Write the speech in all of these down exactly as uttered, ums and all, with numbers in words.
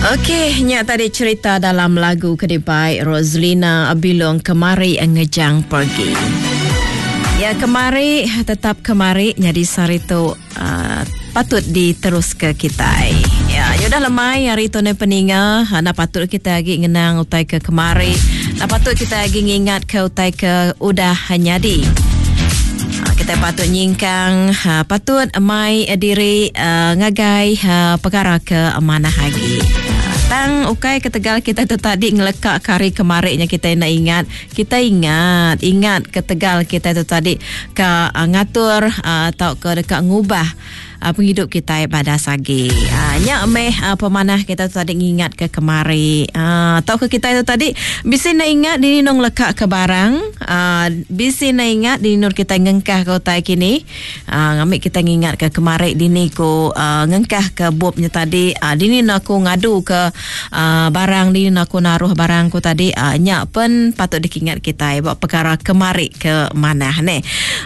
Okey, nya tadi cerita dalam lagu ke dibai Roslina Bilong Kemari Ngejang Pergi. Ya, kemari tetap kemari nyadi sehari tu uh, patut diterus ke kitai. Ya, ya udah lemai hari tu ne peninga, anda patut kita lagi ngenang utai ke kemari. Anda patut kita lagi ngingat ke utai ke udah nyadi. Kita patut nyingkang, ha, patut mai diri uh, ngagai uh, perkara ke manah lagi. Tang ukai ketegal kita tu tadi ngelekak hari kemariknya kita nak ingat. Kita ingat, ingat ketegal kita tu tadi ke uh, ngatur atau uh, ke dekat ngubah uh, penghidup kita pada sagi. Uh, nya meh uh, pemanah kita tu tadi ngingat ke kemari. Uh, atau ke kita itu tadi bisi nak ingat dini nong lekak ke barang, uh, bisi nak ingat dini nur kita ngengkah ke utai kini. Uh, ngamik kita ngingat ke kemari dini ku uh, ngengkah ke bobnya tadi, uh, dini nak aku ngadu ke uh, barang dini nak aku naruh barang ku tadi, uh, nya pen patut dikingat kita buat perkara kemari ke mana ne.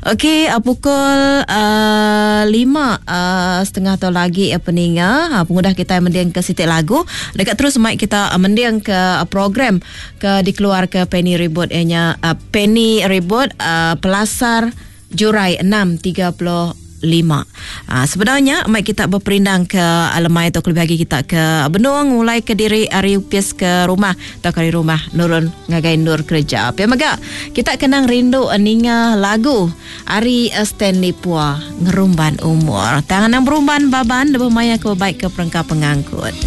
Okey, uh, pukul uh, lima uh, setengah tu lagi uh, peninga, uh, pengudah kita mendiang ke sitik lagu dekat terus mic kita uh, mendiang ke uh, program ke dikeluar ke Penny Ribut ianya uh, Penny Ribut uh, Pelasar Jurai enam tiga puluh lima. Ha, sebenarnya mai kita berperindang ke alemai atau lebih lagi kita ke benung mulai ke diri hari upis ke rumah atau kari rumah nurun ngagai nur kerja. Pia mega kita kenang rindu ninga lagu Ari Stanley Pua Ngerumban Umur. Tangan nang berumban baban lebuh maya ke baik ke perengka pengangkut.